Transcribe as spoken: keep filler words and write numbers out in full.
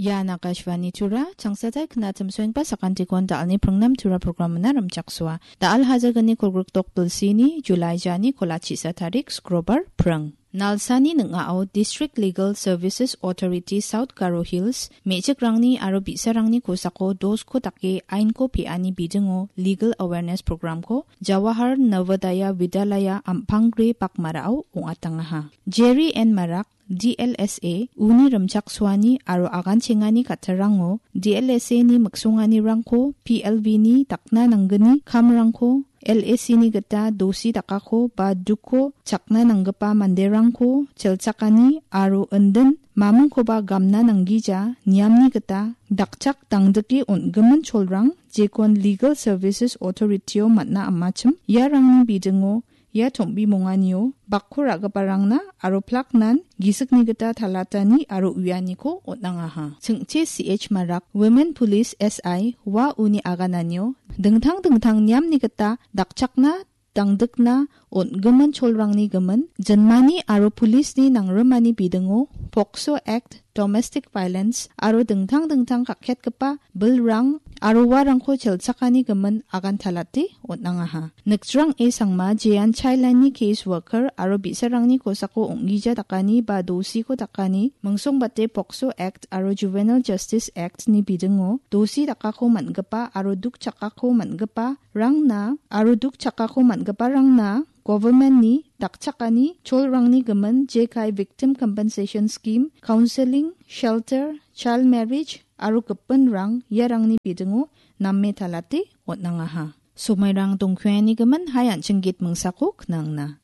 Ian Akashvani Tura, changsatai knatim soengpa sakantikon dal·ni pringnam Tura programmina rimchaksoa. Dal hajagani kolgrikdok bilsini, July jani kolachisa tarik, Skrobar, pring. Nalsani ning·ao District Legal Services Authority South Garo Hills, me·chikrangni aro bi·sarangni kosako dosko dake ainko pe·ani bidingo Legal Awareness Programko Jawahar Navodaya Vidyalaya Ampangre Bakmarao ong·atangaha. Jerry N Marak, D L S A, uni rimchaksoani aro aganchengani kattarrango D L S A ni miksonganirangko P L V ni dakna nanggni kamrangko L A C ni gita dosi dakako ba dukko chakna nanggipa manderangko chelchakani aro indin mamingkoba gamna nanggija niamni gita dakchak dangdike on·gimin cholrang jekon Legal Services Authority-o man·a amachim iarangni bidingo ia tom·bimonganio bakko ra·giparangna aro plaknan gisikni gita talatani aro uianiko on·angaha. Chingchi C H Marak, Women Police S I, ua uni agananio dingtang dingtang niamni gita dakchakna dangdikna on·gimin cholrangni gimin, jinmani aro policeni nangrimani bidingo POCSO Act, Domestic Violence aro dingtang dingtang kaketgipa bilrang aro uarangko chelchakani gimin agantalate on·angaha. Nikjrang E Sangma, jean child line-ni case worker aro bi·sarangni kosako ong·gija dakani ba dosiko dakani, mingsongbate POCSO Act aro Juvenile Justice Act-ni bidingo dosi dakako man·gipa aro duk chakako man·gipa rangna aro duk chakako man·giparangna government-ni dakchakani cholrangni gimin jekai Victim Compensation Scheme, counselling, shelter, child marriage aro gipinrang iarangni bidingo name talate on·angaha. Somairang dongkuani gimin hai an·ching git mingsako knangna.